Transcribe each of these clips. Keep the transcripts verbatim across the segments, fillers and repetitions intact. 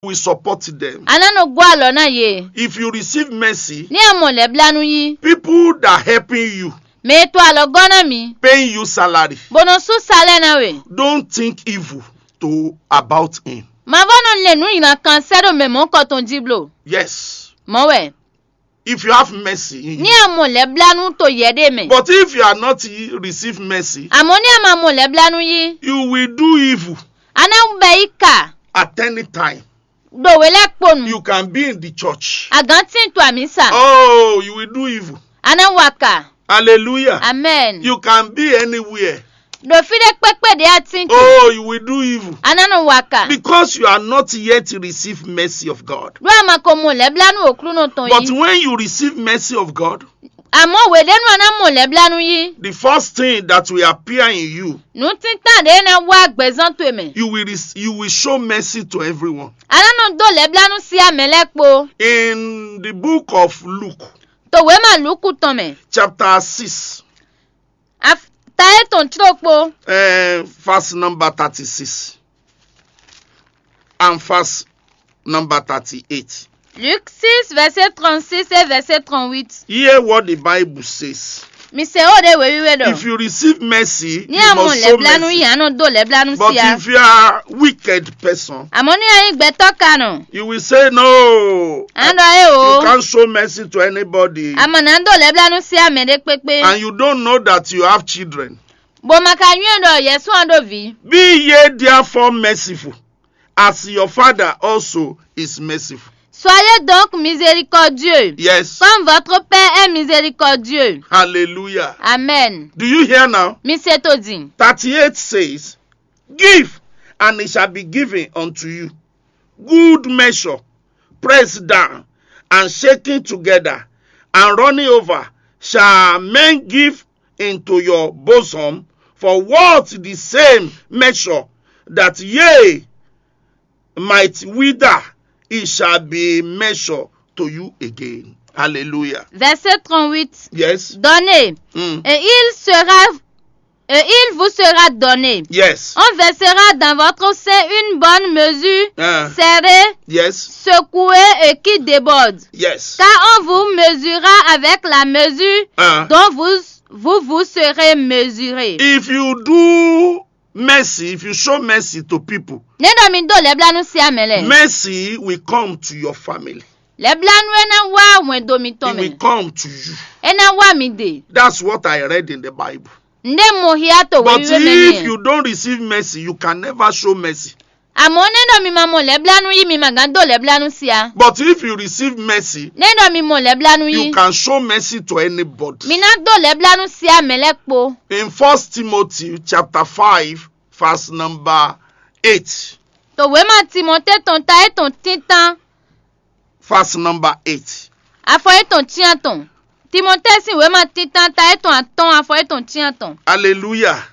will support them. A ná nɔ gɔ́ alɔ ná yě. If you receive mercy, Ní a mɔ lɛ̌blánú yí, people that helping you, mɛ e to alɔ gɔ́ ná mi, paying you salary, bó nɔ sú salɛ ná we. Don't think evil to about him. Ma vɔ́ nɔ lɛn nǔ nyina kan sɛ́ ɖo mɛ mɔ̌kɔ tɔn jí bló. Yes. Mɔ̌ wɛ. If you have mercy in Ní you. a mɔ lɛ̌blánú to yɛ ɖé mɛ. But if you are not e- receive mercy, Àmọ́ ní a ma mɔ lɛ̌blánú yí, you will do evil a ná bɛ yí kà at any time. Ɖo wě lɛ́ɛ kpo nu. You can be in the church. Agǎn tín to amǐsa. Oh, you will do evil. A ná wa kà. Hallelujah. Amen. You can be anywhere. Ɖo fí ɖé kpékpé ɖě a tín to. Oh, you will do evil. A ná nɔ wa kà. Because you are not yet receive mercy of God. Ɖó a ma ko mɔ lɛ̌blánú Aklúnɔ tɔn But yí. When you receive mercy of God, Àmọ́ wěɖénú a ná mɔ lɛ̌blánú yí. The first thing that will appear in you, Nǔtítàn ɖě ná wá gbɛ̌zán towe mɛ. You will, rec- you will show mercy to everyone. A ná nɔ dó lɛ̌blánú sí amɛ lɛ́ɛ kpo. In the book of Luke, To wěma Lúku tɔn mɛ. Chapter six, Af- Ta étɔn tlókpó. Uh, verse number thirty-six and verse number thirty-eight. Luc six, verset trente-six et verset trente-huit. Hear what the Bible says. Mi se ó ɖe wěwíwé ɖɔ. If you receive mercy, Ní you àmọ́ must show lɛ̌blánú mercy. Yě á nɔ dó lɛ̌blánú But sí a. If you are a wicked person, Àmọ́ ní a nyí gbɛtɔ́ kanɔ. You will say no. À ń ɖɔ é o. You can't show mercy to anybody. Àmọ́ nà ń dó lɛ̌blánú sí amɛ ɖé kpékpé. And you don't know that you have children. Bó ma ka nyɔ́ ɖɔ Yɛsu ɔ́ ɖo vǐ. Be ye therefore merciful, as your Father also is merciful. Soyez donc miséricordieux, Yes. Comme votre Père est miséricordieux. Hallelujah. Amen. Do you hear now? Mi se to din. Thirty-eight says, Give, and it shall be given unto you. Good measure, pressed down, and shaken together, and running over, shall men give into your bosom. For what the same measure that ye might wither, it shall be measured to you again. Hallelujah. Verset trente-huit. Yes. Donnez, Mm. et il sera, et il vous sera donné. Yes. On versera dans votre sein une bonne mesure, Ah. Serrée, Yes. Secouée et qui déborde. Yes. Car on vous mesurera avec la mesure Ah. dont vous, vous vous serez mesuré. If you do mercy, if you show mercy to people, Nɛ́ ɖɔ mi dó lɛ̌blánú sí amɛ lɛ. Mercy will come to your family. Lɛ̌blánú é ná wá wɛn do mitɔn It will mɛ. Come to you. É ná wá mi de. That's what I read in the Bible. Ǹdé mo hia to But wéwíwé mɛ if nìyẹn. You don't receive mercy, you can never show mercy. Àmọ́ nɛ́ ɖɔ mi ma mɔ lɛ̌blánú yí mi ma gán dó lɛ̌blánú sí a. But if you receive mercy, Nɛ́ ɖɔ mi mɔ lɛ̌blánú you yí. Can show mercy to anybody. Mi ná dó lɛ̌blánú sí amɛ lɛ́ɛ kpo. In First Timothy chapter five, verse number eight. To wěma Timɔtée tɔn ta étɔn tíntán. Verse number eight. Afɔ étɔn tíntɔn. Timɔtée sín wěma tíntán ta étɔn atɔ́ɔ́n afɔ étɔn tíntɔn. Hallelujah.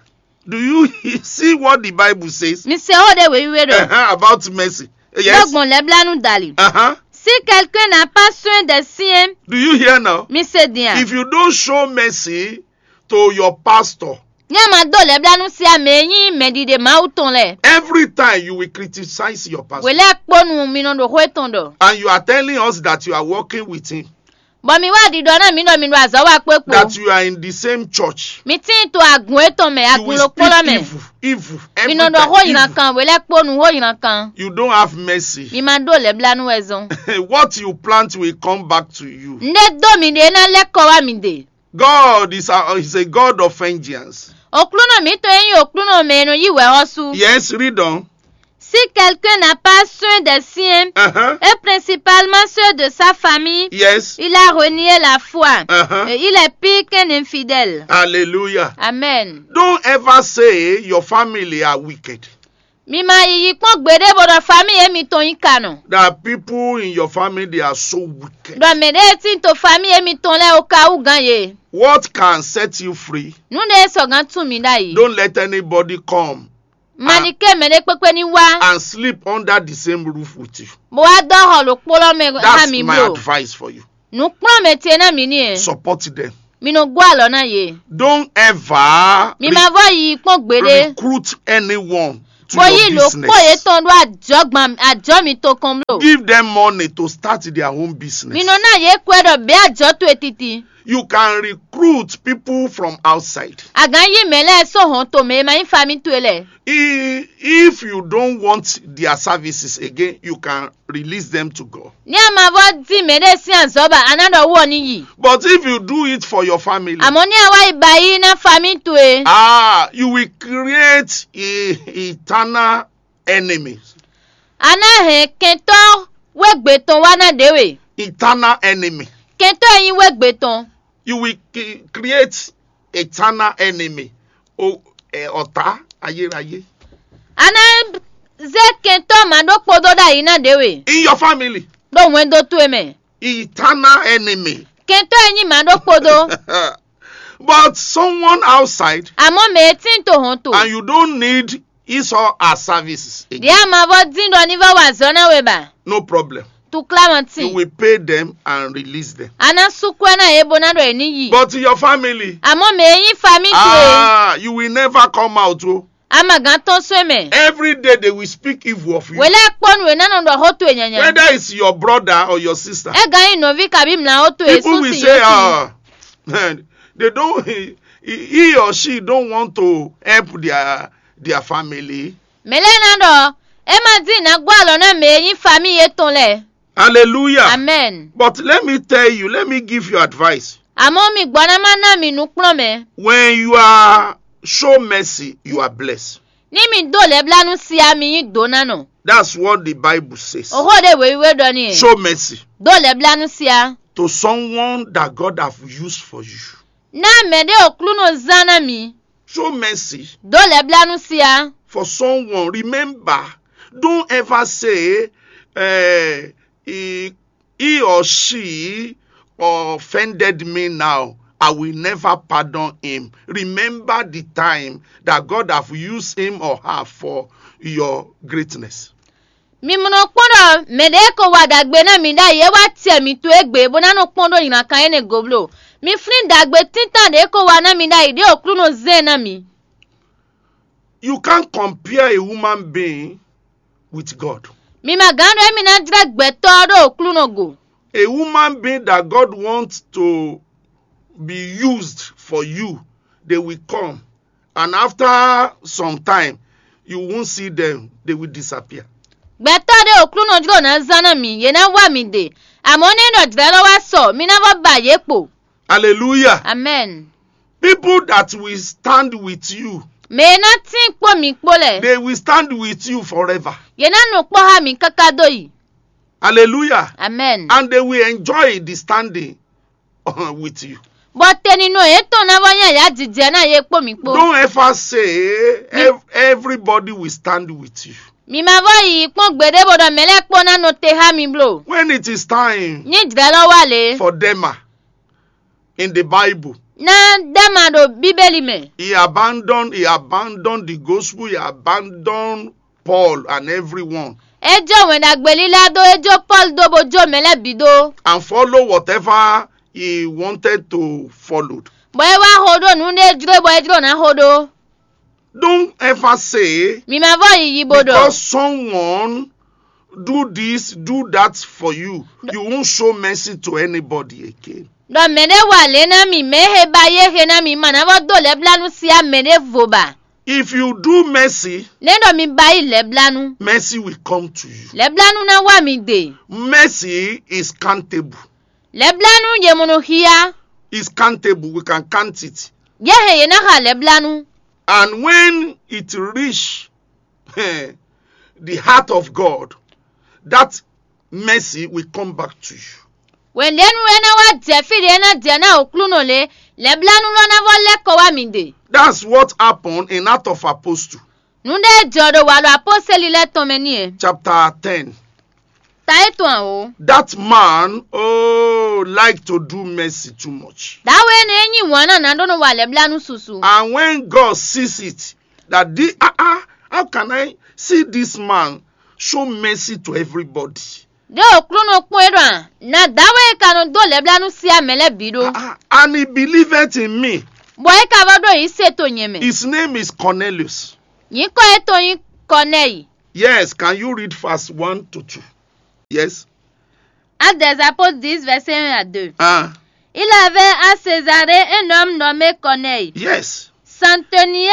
Do you see what the Bible says? Mi se ó ɖe wěwíwé ɖɔ. Uh-huh, about mercy. Yes. Lɔgbɔn lɛblanu dali. Uh-huh. Si quelqu'un n'a pas soin des siens, Do you hear now? Mi se din a? If you don't show mercy to your pastor, Ní a ma dó lɛblanu sí a mɛ e nyí mɛɖiɖe Mawu tɔn lɛ. Every time you will criticize your pastor. Wělɛ kpónu mi nɔ ɖo xó etɔn ɖɔ. And you are telling us that you are working with him. Bɔ mi wá ɖiɖɔ ná mi ɖɔ mi ɖo azɔ̌ wa kpó kpo. That you are in the same church. Mi tíin to agun etɔn mɛ, You agun will ló speak kpɔ́lɔ mɛ. Evil, evil, Mi every nɔ ɖɔ xó time, nyina evil. Kan, wělɛ kpónu xó nyina kan. You don't have mercy. Mi ma ɖó lɛblanu wɛ zɔn. What you plant will come back to you. Ŋɖe dó mi ɖe ná lɛ́ kɔ wá mi ɖe. God is a, is a God of vengeance. Oklúnɔ mǐtɔn e nyí Oklúnɔ mɛ e nɔ yí wɛ ɔ́ sú. Yes, read on. Si quelqu'un n'a pas soin des siens, Uh-huh. et principalement ceux de sa famille, Yes. Il a renié la foi, Uh-huh. Et il est pire qu'un infidèle. Hallelujah. Amen. Don't ever say your family are wicked. Mi ma yiyi kpɔ́n gbeɖé bó ɖɔ famille émitɔn nyí kanɔ. There are people in your family, they are so wicked. Ɖɔ mɛ ɖé tí to famille émitɔn lɛ́ɛ ó ka wú gán yě. What can set you free? Nǔ ɖé sɔgán tún mi ɖ'ayǐ. Don't let anybody come Maɖi ké mɛ ɖé kpékpé ní wá. And sleep under the same roof with you. Bó wá dó xɔ ɖokpó lɔ mɛ há That's mi my bló. Advice for you. Nǔkplɔ́nmɛ ce ná mi ní e. Support them. Mi nɔ gó alɔ ná yě. Don't ever Mi ma vɔ yi kpɔ́n gbeɖé. Recruit anyone to bó yí your lǒ kpó business. Yětɔn ɖó ajɔ̌gban ajɔ̌ mitɔn kɔn bló. Give them money to start their own business. Mi nɔ ná yě kwɛ́ ɖɔ běé ajɔ̌ towe titi. You can recruit people from outside. A gǎn yí mɛ lɛ́ɛ sɔ́ hɔn tomɛ e ma nyí famí towe lɛ́ɛ. I- If you don't want their services again, you can release them to God. Ní a ma vɔ́ dín mɛɖé sín azɔ̌ ba a ná ɖɔ wú ɔ́ ní yi. But if you do it for your family, Àmọ́ ní a wá yi ba yí ná famí towe. Ah, you will create a eternal enemy. A ná hɛn kɛntɔ́ wégbe tɔn wá ná ɖě we. Eternal enemy. Kɛntɔ́ e nyí wégbe tɔn. You will cre- create eternal enemy. O eh, ọ̀tá ayérayé. A ná zé kɛntɔ́ mǎ ɖó kpódó ɖ'ayǐ ná ɖě we. In your family. Ɖó hwɛndo towe mɛ. Eternal enemy. Kɛntɔ́ e nyí mǎ ɖó kpódó. But someone outside, Àmọ́ mɛ e tín to hɔn to. And you don't need his or her services again. Ɖě a ma vɔ́ dín ɖɔ ní vɔ́ wa azɔ̌ ná we ba. No problem. Tuklámɔ You tín. Will pay them and release them. A ná sú kwɛ́ ná yě bó ná ɖɔ yě ní yi. But your family, Àmọ́ mɛ e nyí famí towe. Ah, you will never come out. Oh. A ma gǎn tɔ́n só e mɛ. Every day they will speak evil of you. Wělé kpɔ́ nú è ná nɔ ɖɔ xó towe nyanya. Whether it's your brother or your sister. É gǎn nyí nɔví kabí mlǎwó towe People will say, ah, they don't, he, he or she don't want to help their their family. Mɛ lɛ́ɛ ná ɖɔ é ma dín nǎ gbɔ alɔ ná mɛ e nyí famí yětɔn lɛ́ɛ. Hallelujah. Amen. But let me tell you, let me give you advice. Àmọ́ mi gbɔ ná má ná mi nǔkplɔ́nmɛ. When you are show mercy, you are blessed. Ní mi dó lɛ́blánú si a mi nyí dǒnánɔ. That's what the Bible says. Òxó ɖé wěwíwé ɖɔ n'i. Show mercy. Dó lɛ́blánú si a. To someone that God have used for you. Ná mɛ ɖé Aklúnɔ zán ná mi. Show mercy. Dó lɛ́blánú si a. For someone, remember, don't ever say, eh, he, he or she offended me now. I will never pardon him. Remember the time that God have used him or her for your greatness. Mi mɔ nɔ kpɔ́n ɖɔ mɛ ɖě ko wa ɖagbe ná mi ɖ'ayǐ é wá tiɛ mi to égbé bó ná nɔ kpɔ́n ɖó nyǐnakan énɛ́ go bló. Mi flín ɖagbe tíntan ɖě ko wa ná mi ɖ'ayǐ ɖě Aklúnɔ zɛ́n ná mi. You can't compare a human being with God. Mi ma gǎn ɖɔ émí ná jlɛ́ gbɛtɔ́ ɔ́ ɖó Aklúnɔ go. A human being that God wants to be used for you, they will come. And after some time, you won't see them, they will disappear. Gbɛtɔ́ ɖé Aklúnɔ jló ná zán ná mi, yě ná wá mi ɖe. Àmọ́ ní ɖɔ jlɛ̌ lɔ wá sɔ, mi ná vɔ́ ba yě kpo. Hallelujah. Amen. People that will stand with you, Mɛ e ná tín kpó mi kpó lɛ́ɛ, they will stand with you forever. Yě ná nɔ kpɔ́ xá mi káká dó yi. Hallelujah. Amen. And they will enjoy the standing with you. Bɔ teninɔ yětɔn ná vɔ nyí ayǎjijɛ ná yě kpó mi kpó. Don't ever say ev- everybody will stand with you. Mi ma vɔ yi kpɔ́n gbeɖé bó ɖɔ mɛ lɛ́ɛ kpó ná nɔ te xá mi bló. When it is time Ní jlɛ̌ lɔ wá lě, for Dema in the Bible, ná Dema ɖo Bíbélì mɛ. He abandoned, he abandoned the gospel, he abandoned Paul and everyone. É jó wɛn ɖagbe lílá dó, é jó Pɔ́lu dó bó jó mɛ lɛ́ɛ bǐ dó. And follow whatever he wanted to follow. Bɔ é wá xo ɖó nǔ ɖé jló bɔ é jló ná xo ɖó. Don't ever say, Mi ma vɔ yiyi bó ɖɔ. Because someone do this, do that for you, you won't show mercy to anybody again. Ɖɔ mɛ ɖé wa lě ná mi, mɛ he ba yé he ná mi, ma ná vɔ dó lɛ́blánú sí á mɛ ɖěvo ba. If you do mercy, Nɛ̌ ɖɔ mi ba yí lɛ́blánú? Mercy will come to you. Lɛ́blánú ná wá mi ɖe. Mercy is countable. Lɛ́blánú ye mo nɔ xyá. Is countable. We can count it. Yé he yě ná xa lɛ́blánú. And when it reach the heart of God, that mercy will come back to you. Wěndénu e ná wá jɛ fí ɖě e ná jɛ ná Aklúnɔ lě, lɛ̌blánú lɔ ná vɔ lɛ́ kɔ wá mi ɖe. That's what happened in Act of Apostle, Nǔ ɖé jɔ ɖo wǎ ɖo apɔ́sɛ́li lɛ́ɛ tɔn mɛ n'i. Chapter ten. Ta é tɔn ǎ o. That man, oh, like to do mercy too much. Dǎwe énɛ́ e nyí wǎn ná ná ɖó nɔ wa lɛ̌blánú susu. And when God sees it, that the, ah, ah, how can I see this man show mercy to everybody? Ɖé Aklúnɔ kpɔ́n é ɖɔ a, na dǎwe e ka nɔ dó lɛ̌blánú sí amɛ lɛ́ɛ bǐ ɖó. Ah, ah, and he believeth in me. Bɔ é ka vɔ ɖó yǐ se to nyɛ mɛ. His name is Cornelius. Nyǐkɔ étɔn nyí Corneille. Yes, can you read verse one to two? Yes. Actes des Apôtres dix, verset un à deux. Ah, Il avait à Césarée un homme nommé Corneille, yes. Centenier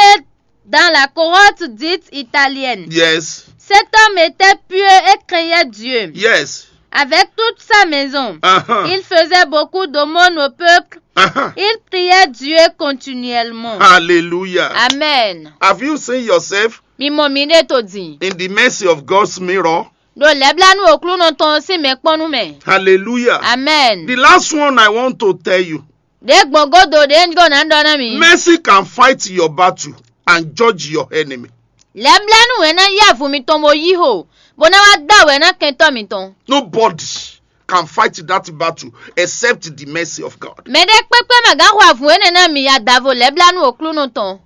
dans la cohorte dite italienne. Yes. Cet homme était pieux et craignait Dieu. Yes. Avec toute sa maison, Uh-huh. Il faisait beaucoup d'aumônes au peuple. Uh-huh. Il priait Dieu continuellement. Hallelujah. Amen. Have you seen yourself Mi mɔ mi ɖe to din. In the mercy of God's mirror? Ɖo lɛblanu Aklúnɔ tɔn sín mɛkpɔ́nú mɛ. Hallelujah. Amen. The last one I want to tell you, Ɖě gbɔn godo ɖě un ɖó ná ɖɔ ná mi. Mercy can fight your battle and judge your enemy. Lɛblanu wɛ ná yí avun mitɔn bó yí xo, bó ná wá dó awɛ ná kɛntɔ́ mitɔn. Nobody can fight that battle except the mercy of God. Mɛ ɖé kpékpé ma gán xo avun énɛ́ ná mi adavo lɛblanu Aklúnɔ tɔn.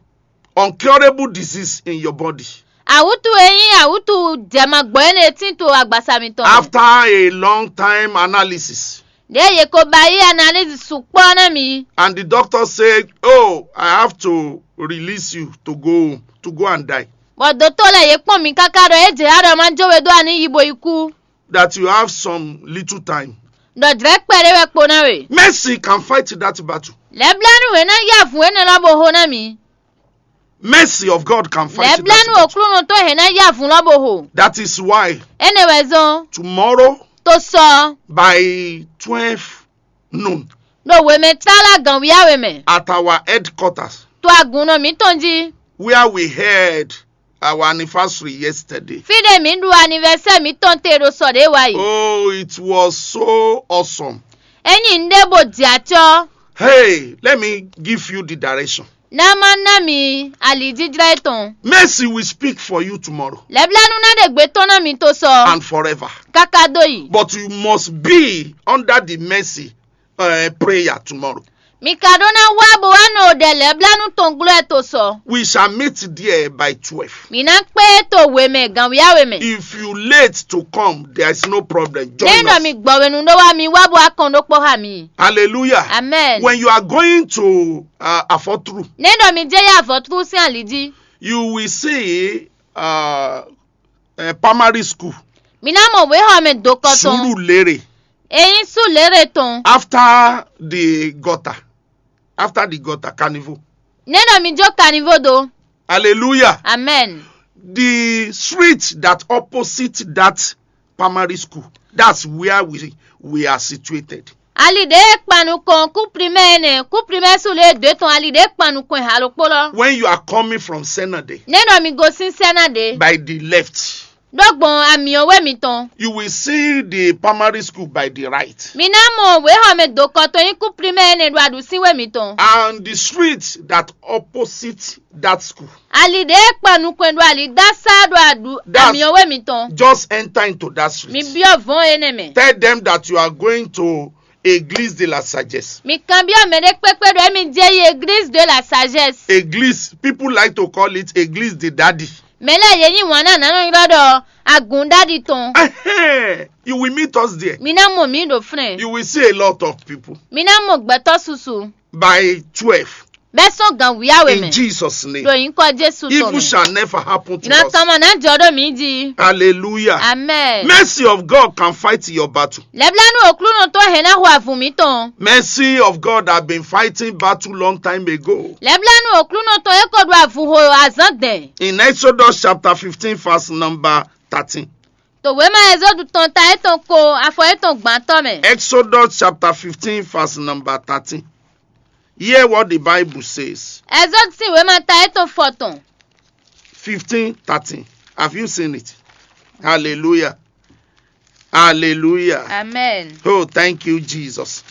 Uncurable disease in your body. Awútu e nyí awútu jɛmagbɔ énɛ́ tín to agbasa mitɔn mɛ. After a long time analysis, Ɖě yě ko ba yí analyse sukpɔ́ ná mi. And the doctor said, "Oh, I have to release you to go to go and die." Bɔ dotó lɛ́ɛ yě kpɔ́n mi káká ɖɔ é jɛ ya ɖɔ má jó we dó ani yi bo yi kú. That you have some little time. Ɖɔ jlɛ̌ kpɛɖé wɛ kpo ná we. Mercy can fight that battle. Lɛblanu hɛn ná yí avun énɛ́ lɔ bo ho ná mi. Mercy of God can fight Lɛblanu that battle. Oklúnɔ tó hɛn ná yí avun lɔ bo ho. That is why Énɛ́ wɛ zɔ́n tomorrow tó sɔ by twelve noon ɖo wemɛ tála gan wíyáwe mɛ. At our headquarters, To agunnɔ mǐtɔn jí. Where we had our anniversary yesterday. Fí ɖé mǐ ɖu anivɛsɛ́ mǐtɔn te ɖo sɔ ɖě wa yi. Oh, it was so awesome. É nyí nǔɖé bo jɛ acɔ́. Hey, let me give you the direction. Ná má ná mi ali jíjlá tɔn. Mercy will speak for you tomorrow Lɛblanu ná ɖe gbe tɔn ná mi tó sɔ. And forever. Káká dó yi. But you must be under the mercy uh, prayer tomorrow. Mi ka ɖó ná wá bó wá nɔ ɖɛ lɛblanu tɔn glɔ́ ɛ tó sɔ. We shall meet there by twelve. Mi ná kpé to wemɛ gan wíyáwe mɛ. If you late to come, there is no problem. Ní Join nɔ mi us. Gbɔwenu ɖó wá mi wá bó wá kɔn ɖó kpɔ́ xá mi. Hallelujah. Amen. When you are going to uh, Afotru, Ní nɔ mi jẹ́ yá avɔtú sín ali jí. You will see uh, a primary school, Mi ná mɔ wéhɔmɛ dokɔ tɔn. Surulere, Eyín sú lérè tɔn. After the gutter, after the gutter, Carnival. Ní nɔ mi jó kanivo do. Hallelujah. Amen. The street that opposite that primary school, that's where we, we are situated. Ali ɖe kpanu kɔn kú primɛ nɛ kú primɛ sú lé dó tɔn ali ɖe kpanu kɔn halo kpó lɔ. When you are coming from Senade, Ní nɔ mi gosín sɛ́ ná ɖe. By the left, Ɖó gbɔn amiɔwé mitɔn. You will see the primary school by the right. Mi ná mɔ wéhɔmɛ dokɔ tɔn nyí kú primɛ nɛ ɖo aɖusíwé mitɔn. And the street that opposite that school. Ali ɖe kpanu kɔn ɖo ali dá sá ɖo aɖu That's- amiɔwé mitɔn. Just enter into that Mi street. Byɔ́ vɔn énɛ́ mɛ. Tell them that you are going to Église de la Sagesse. Mi kanbyɔ́ mɛ ɖé kpékpé ɖɔ émi jɛ yi église de la sagesse. Église, people like to call it Église de Daddy. Mɛ lɛ́ɛ yě nyí wǎn ná nǎ nɔ ylɔ́ ɖɔ agǔnɖáɖi tɔn. Ehem, you will meet us there. Mi ná mɔ mǐ ɖo flɛ́n. You will see a lot of people Mi ná mɔ gbɛtɔ́ susu. By twelve. Bɛ́ sɔ́n gan wíyáwe In mɛ. Jesus' name. Ɖo nyǐkɔ Jésù tɔn Evil mɛ. shall never happen to Ìran us. kan mɔ ná jɔ ɖó mǐ jí. Hallelujah. Amen. Mercy of God can fight your battle. Lɛblanu Oklúnɔ tɔn hɛn ná ho avun mǐtɔn. Mercy of God have been fighting battle long time ago. Lɛblanu Oklúnɔ tɔn é ko ɖo avun ho azǎn dɛn. In Exodus chapter fifteen, verse number thirteen. To wěma Ɛzɔ́du tɔn ta étɔn ko afɔ étɔn gbantɔ́ mɛ. Exodus chapter fifteen, verse number thirteen. Hear what the Bible says. Ɛzɔ́du sín wěma ta étɔn fɔtɔn. Fifteen thirteen. Have you seen it? Hallelujah. Hallelujah. Amen. Oh, thank you, Jesus.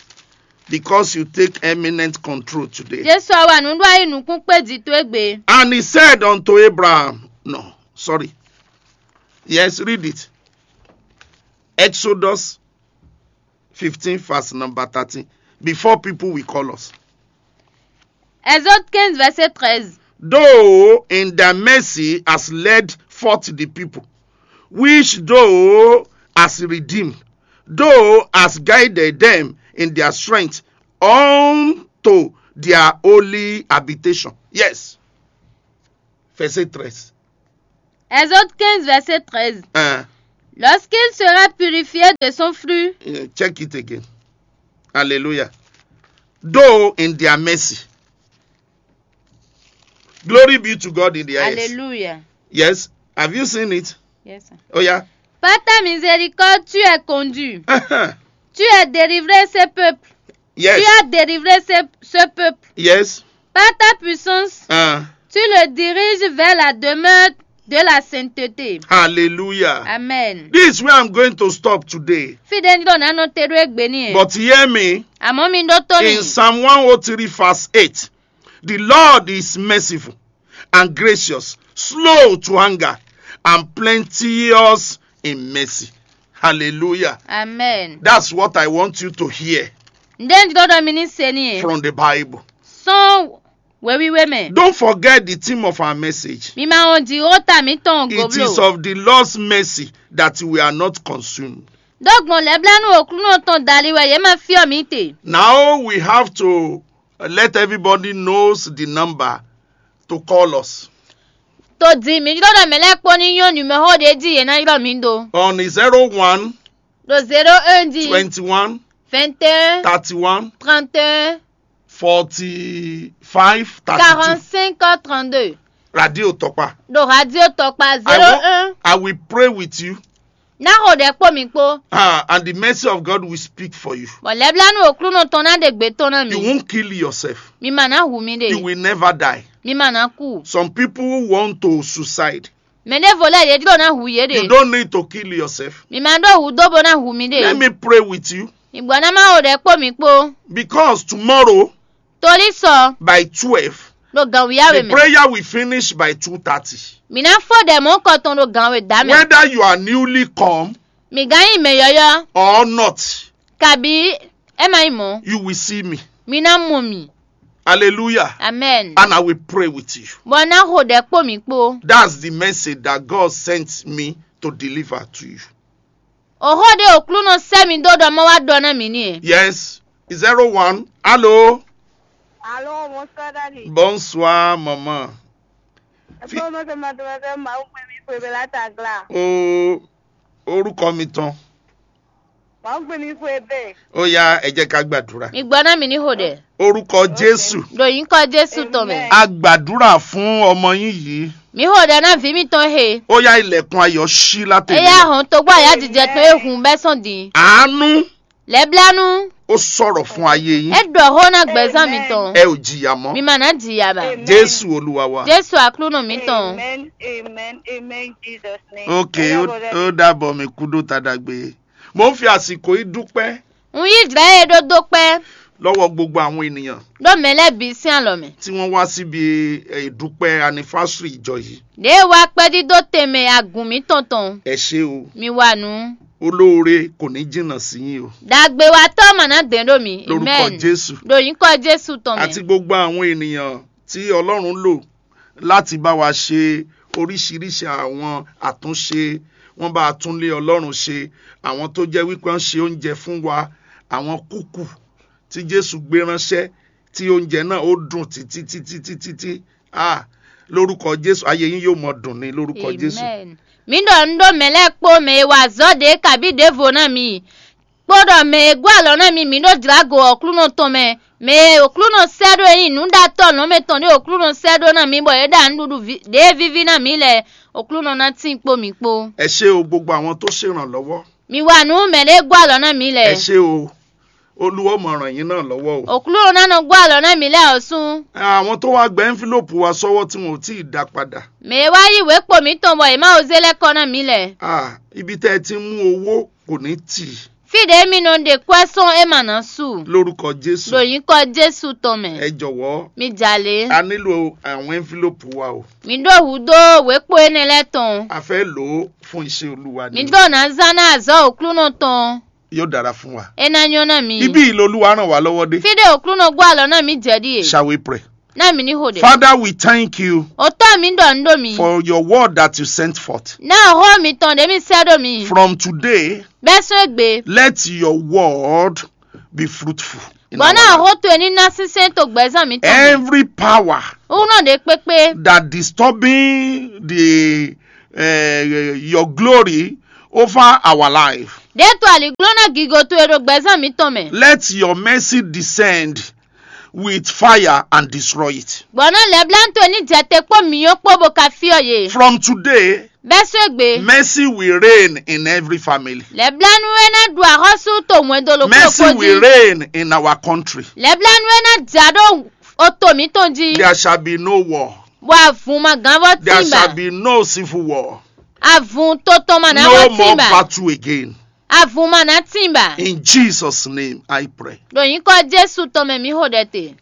Because you take eminent control today. Jésù àwa nǔɖó ayé nukún kpé jì tó égbé. And he said unto Abraham, no, sorry. Yes, read it. Exodus fifteen, verse number thirteen. Before people will call us. Exode quinze, verset treize. Though in thy mercy has led forth the people, which thou hast redeemed, thou hast guided them in their strength unto their holy habitation. Yes. Verset treize. Exode quinze, verset treize. Uh, Lorsqu'il sera purifié de son flux, check it again. Hallelujah. Though in their mercy. Glory be to God in the highest. Alléluia. Yes. Have you seen it? Yes, sir. Oh yeah. Par ta miséricorde, tu es conduit. Tu as délivré ce peuple. Tu Yes. As délivré ce, ce peuple. Yes. Par ta puissance, Uh, tu le diriges vers la demeure de la sainteté. Hallelujah. Amen. This is where I'm going to stop today. Fide ní ɖo nánɔ te ɖó égbé ní ɛ. But hear me. Àmọ́ mi ɖó tó mi. In Psalm one oh three verse eight, the Lord is merciful and gracious, slow to anger, and plenteous in mercy. Hallelujah. Amen. That's what I want you to hear Ǹdé ní ɖó ɖɔ mi ní se ní ɛ. From the Bible. Sɔn wěwíwé mɛ. Don't forget the theme of our message. Mi ma wɔn jǐ ó ta mǐtɔn It is goblo. Of the Lord's mercy that we are not consumed. Ɖó gbɔn lɛblánú òklúnɔ tɔn dali wɛ yě ma fyɔ́ mi te. Now we have to let everybody knows the number to call us. Tó di mi ɖó ɖɔ mɛ lɛ́ɛ kpó ní nyɔ́ numero ɖé jí yě ná ylɔ́ mi ɖó. On zero one Ɖo zéro un jí. twenty one Vingt et un. Thirty one Trente et un. Forty five thirty two. Quarante-cinq trente-deux. Radio Tokpa. Ɖo radio tɔkpa I, zéro wa- un. I will pray with you. Ná xo ɖɛ kpó mi kpó. Ah, and the mercy of God will speak for you. Bɔ lɛblánú òklúnɔ tɔn ná ɖe gbě tɔn ná You mi. Won't kill yourself. Mi ma ná hu mi You ɖe. Will never die. Mi ma ná kú. Some people who want to suicide. Mɛ ɖěvo lɛ́ɛ yě ɖó ná hu yě You ɖe. Don't need to kill yourself. Mi ma ɖó hu dó bó ná hu mi Let ɖe. Me pray with you. Ìgbɔ ná má xo ɖɛ kpó mi kpó. Because tomorrow Torí sɔ by twelve, ɖo gǎnwíyáwé the mɛ. Prayer will finish by two thirty. Mi ná fó ɖɛ mɔ̌ kɔ tɔn ɖo gǎnwé dá mɛ. Whether you are newly come Mi gán nyí mɛ yɔ́yɔ́. Or not, Kabí é ma nyí mɔ̌. You will see me. Mi ná mɔ mi. Hallelujah. Amen. And I will pray with you. Bɔ ná xo ɖɛ kpó mi kpó. That's the message that God sent me to deliver to you. Òxó ɖé òklúnɔ sɛ́ mi dó ɖɔ mɔ wá ɖɔ ná mi ní ɛ. Yes. Zero one. Hello. Alo, bonsoir, Daddy. Bonsoir, maman. Ẹgbẹ́ ọmọ tó máa tó máa fẹ́ máa ń pè mí fún ebè látàgbà. O orúkọ mi tán. Máa ń pè mí fún ebè. Ó yá, ẹ jẹ́ ká gbàdúrà. Mi gbọ́ ná mi ní xo ɖɛ. Orúkọ Jésù. Ɖo nyǐkɔ Jésù tɔn mɛ. Amen. A gbàdúrà fún ọmọ yín yìí. Mi xo ɖɛ ná vǐ mitɔn he. Ó yá, ilẹ̀kùn ayọ̀ ṣí látẹ̀lé. Eya hɔn togbó àyájíjẹ tɔn e hun bɛ́ sɔn din. Àánú Lɛblanu. Ó sọ̀rọ̀ fún ayé yín. E ɖɔ xó ná gbɛzán mitɔn. Ẹ ò jìyà mọ́. Mi ma ná jìyà ba. Jésù Olúwa wa. Jésù aklúnɔ mitɔn. Amen. Amen. Amen. Jesus' name. Ok, ó ó dàbọ̀, mi kú dó tadagbe. Mo ń fi àsìkò yìí dúpẹ́ N yí jlá ye ɖó dó kpɛ́. Lọ́wọ́ gbogbo àwọn ènìyàn Ɖó mɛ lɛ́ɛ bǐ sín alɔ mɛ. Tí wọ́n wá síbi eh, ìdúpẹ́ anifásírì ìjọ yìí. Ɖě e wá kpɛ́ dídó tɛnmɛ agun mǐtɔn tɔn. Ẹ ṣé o. Mi wa nǔ. Olóore kò ní jìnnà sí yín o. Dàgbéwatɔ́ mà ná dɛn ɖó mi. Lórúkọ Amen. Jésù. Ɖo nyǐkɔ Jésù tɔn mɛ. Àti gbogbo àwọn ènìyàn tí Ọlọ́run lò láti bá wa ṣe oríṣiríṣi àwọn àtúnṣe. Wọ́n bá a tún lé Ọlọ́run ṣe. Àwọn tó jẹ́ wípé wọ́n ṣe oúnjẹ fún wa. Àwọn kúkù tí Jésù gbé ránṣẹ́, tí oúnjẹ náà ó dùn títí títí títí tí. Ah, lórúkọ Jésù, ayé yín yóò mọ dùn ní lórúkọ Jésù. Amen. Mi ɖɔ nu ɖó mɛ lɛ́ɛ kpó mɛ e wa azɔ̌ ɖě kabí ɖěvo ná mi. Kpó ɖɔ mɛ e gɔ́ alɔ ná mi, mi ɖó jlǎgo Aklúnɔ tɔn mɛ. Mɛ e Aklúnɔ sɛ́ ɖó e nyí nǔɖatɔ́ lɔ̌nmɛ tɔn ɖé Aklúnɔ sɛ́ ɖó ná mi, bɔ é ɖa nǔɖuɖu vi- ɖě víví ná mi lɛ́ɛ, Aklúnɔ ná tín kpó mi kpó. Ẹ ṣé o, gbogbo àwọn tó ṣèrànlọ́wọ́. Mi wa nǔ mɛ ɖě gɔ́ alɔ ná mi lɛ́ɛ. Ẹ ṣé o, Olúwa ó mọ ràn yín náà lọ́wọ́ o. Aklúnɔ ná nɔ gɔ́ alɔ ná mi lɛ́ɛ ɔ́ sún. Àwọn tó wá gba envelope wa sọ́wọ́ tí wọn ò tí ì dá padà. Mɛ e wá yí wěkpo mǐtɔn bɔ è má wo zé lɛ́ kɔ ná mi lɛ́ɛ. Ah, ibi tẹ́ ẹ ti mú owó kò ní tì. Fí ɖě mi nɔ ɖe kwɛ́ sɔ́ é mà ná su. Lórúkọ Jésù. Ɖo nyǐkɔ Jésù tɔn mɛ. Ẹ jọ̀wọ́, Mi jà lé. A nílò àwọn envelope wa o. Mi ɖó hǔ dó wěkpo énɛ́ lɛ́ɛ tɔn. A fẹ́ lò ó fún iṣẹ́ Olúwa Mi ni. Ɖó ná zán ná azɔ̌ Aklúnɔ tɔn. Yóò dára fún wa. É ná nyɔ́ ná mi. Ibí yìí l'Olúwa ràn wá lọ́wọ́ dé. Fí ɖé Aklúnɔ gɔ́ alɔ ná mi jɛ ɖíe. Shall we pray? Ná mi ní xo ɖe. Father, we thank you Òtɔ́ mi ɖɔ nú ɖó mi. For your word that you sent forth. Ná xó mitɔn ɖě mi sɛ́ ɖó mi. From today, Bɛ́ sɔ́ égbé. Let your word be fruitful. In Bɔ our ná life. Xó towe ní ná sínsɛ́n to gbɛ̌zán mǐtɔn mɛ. Every power Wúnɔ ɖě kpékpé. That disturbing the uh, your glory over our life. Ɖětò aliglónɔ gigo towe ɖo gbɛzán mǐtɔn mɛ. Let your mercy descend with fire and destroy it. Gbɔ̌ ná lɛ̌blánú towe ní jɛ te kpó myɔ kpó bó ka fyɔ́ yě. From today, Bɛ́ só égbé. Mercy will reign in every family. Lɛ̌blánú é ná ɖu axɔ́sú to hwɛndo ɖokpó Mercy ɖokpó will jí. Reign in our country. Lɛ̌blánú é ná ja ɖó oto mǐtɔn jí. There shall be no war. Bɔ avun ma gán vɔ There tínba. Shall be no civil war. Avun to tɔn ma ná No vɔ more tínba. Battle again. Avun ma ná tínba. In Jesus' name, I pray. Ɖo nyǐkɔ Jésù tɔn mɛ mǐ xo ɖɛ te.